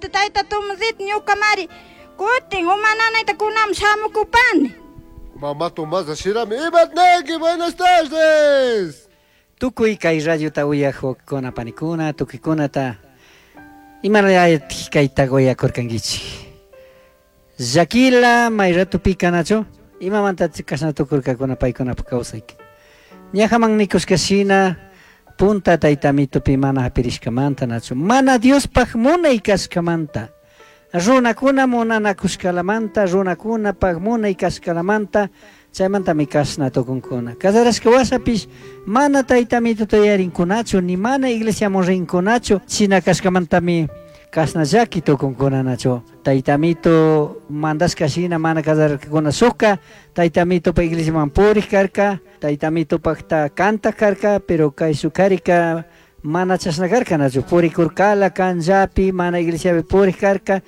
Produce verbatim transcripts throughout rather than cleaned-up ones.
Ambrosita, tayta Tomasita, ñukamari kutin uma nanayta kunaman shamukupani. Mamá Tomasa shinami imatnaki, buenas tardes. Tukuy kay radiota uyaj wawqikuna panikuna tukuykunata imanaytik kayta uyakurkankichik. Llaquila may ratupika, nachu? Imamanta kashna tukurkakuna paykunapak kawsayka? Ñajaman nikushka shina punta tayta Amitupi mana hapirishkamanta, nachu? Mana Diospaj munay kashkamanta, runakuna munanakushkalamanta, runakunapak munay kashkalamanta, chaymantami kashna tukunkuna. Casarashka washapish mana tayta Amituta yuyarinkunachu, ni mana iglesiaman rinkunachu, shina kashkamantami kashna llaki tukunkuna, nachu? Tayta Amito mandashka shina mana casararkakuna. Shukka tayta Amitupa iglesiaman purik karka, tayta Amitupakta kantak karka, pero kay shuk karika mana chashna karka, nachu? Purikurkala kanllapi, mana iglesiapi purik karka.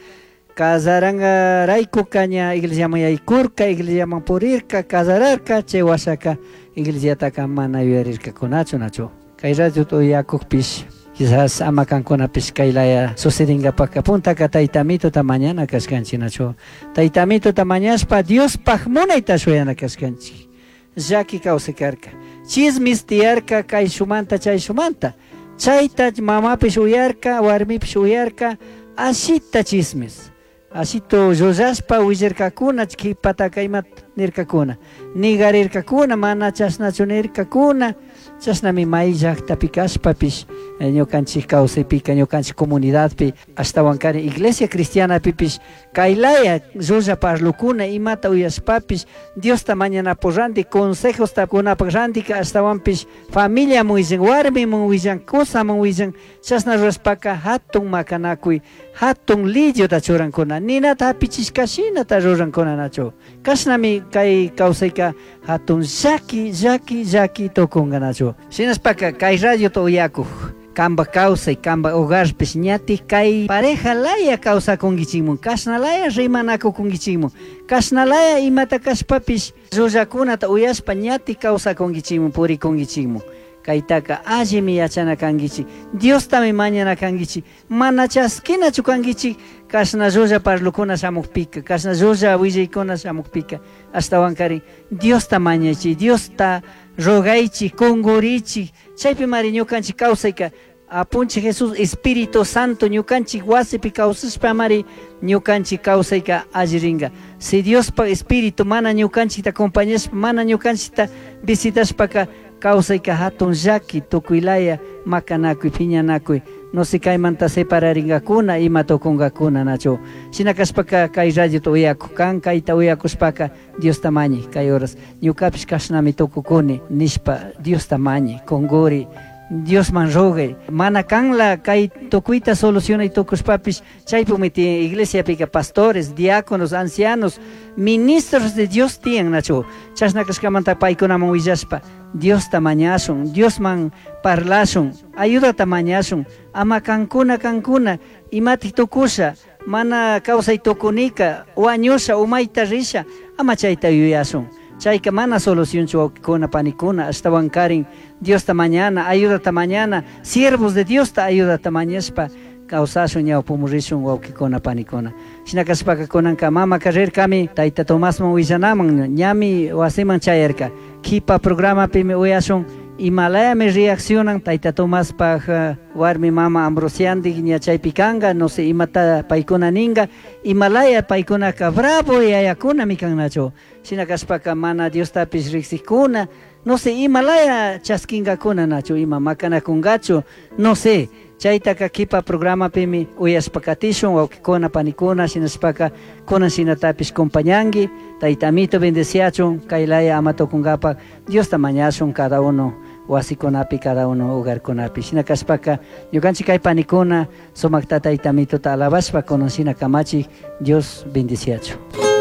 Casarangarayku ña iglesiaman yaykurka, iglesiaman purirka, casararka, chay washaka iglesiataka mana yuyarirkakunachu, nachu? Kay radiota uyakukpish quizás ama kankunapish kay laya sucedingapaka puntaka tayta Amituta mañana kashkanchik, nachu? Tayta Amituta mañashpa Diospaj munayta shuyana kashkanchik. Llaki kawsay karka, chismis tiyarka kay shumanta chay shumanta, chayta mamapish uyarka, warmipish uyarka, ashita chismis ashito llullashpa willarkakuna. Kipataka imata nirkakuna? Nigarirkakuna, mana chashnachu nirkakuna. Chashnami may llaktapi kashpapish ñukanchik kawsaypika, ñukanchik comunidadpi, ashtawankari iglesia cristianapipish kaylaya llulla parlukuna imata uyashpapish Diosta mañanapuk ranti, consejosta kunapak rantika ashtawanpish familiaman willan, warmiman willan, kusaman willan. Chashna rurashpaka hatun makanakuy, hatun lidiota churankuna, ninata hapichishka shinata rurankuna, nachu? Kashnami kay kawsayka hatun llaki llaki llaki tukunka, nachu? Shinashpaka kay radiota uyakuk, kamba kawsay, kamba hogarpish ñatik kay pareja laya kawsakunkichikmun, kashna laya rimanakukunkichikmun, kashna laya imata kashpapish llullakunata uyashpa ñatik kawsakunkichikmun, purikunkichikmun, kaytaka allimi yachana kankichik, Diostami mañana kankichik. Mana chaskinachu kankichik kashna llulla parlukuna shamukpika, kashna llulla willaykuna shamukpika. Ashtawankarin Diosta mañaychik, Diosta rogaychik, kunkurichik. Chaypimari ñukanchik kawsayka. Apunchik Jesús, Espíritu Santo ñukanchik wasipi kawsashpamari ñukanchik kawsayka alli ringa. Si Diospa Espíritu mana ñukanchikta acompañashpa, mana ñukanchikta visitashpaka kawsayka hatun llaki, tukuylaya makanakuy, piñanakuy, no sé, kaymanta separaringakuna, ima tukunkakuna, nachu? Shina kashpaka kay radiota uyakuj kan, kayta uyakushpaka Diosta mañay kay horas, ñukapish kashnami tukukuni nishpa Diosta mañay, kunkuri, Diosman rogay. Mana kanla kay tukuyta solucionay tukushpapish chaypimi tiyan iglesiapika pastores, diáconos, ancianos, ministros de Dios tiyan, nachu? Chashna kashkamanta paykunaman willashpa Diosta mañashun, Diosman parlashun, ayudata mañashun. Ama kankuna kankuna imatik tukusha, mana kawsay tukunika, wañusha, umayta risha, ama chayta yuyashun. Chayka mana solucionchu, wawqikuna panikuna. Ashtawankarin Diosta mañana, ayudata mañana, siervos de Diosta ayudata mañashpa kawsashun, ñawpamun rishun, wawqikuna panikuna. Shina kashpaka kunanka mamaka rirkami tayta Tomasman willanaman, ñami wasiman chayarka. Kipa programapimi uyashun imalayami reaccionan tayta Tomaspaj warmi mama Ambrosiandik, ña chaypi kanka. No sé imata paykuna ninga, imalaya paykunaka bravo yayakunami kan, nachu? Shina kashpaka mana Diostapish riksikkuna, no sé imalaya chaskinkakuna, nachu? Ima makanakunkachu, no sé. Chaytaka kipa programapimi uyashpa katishun, wawqikuna panikuna. Shinashpaka kunan shinatapish compañanki. Tayta Amito bendeciachun. Kaylaya ama tukunkapak Diosta mañashun cada uno wasikunapi, cada uno hogarkunapi. Shina kashpaka ñukanchik kay panikuna sumakta tayta Amituta alabashpa kunan shina kamachik. Dios bendeciachun.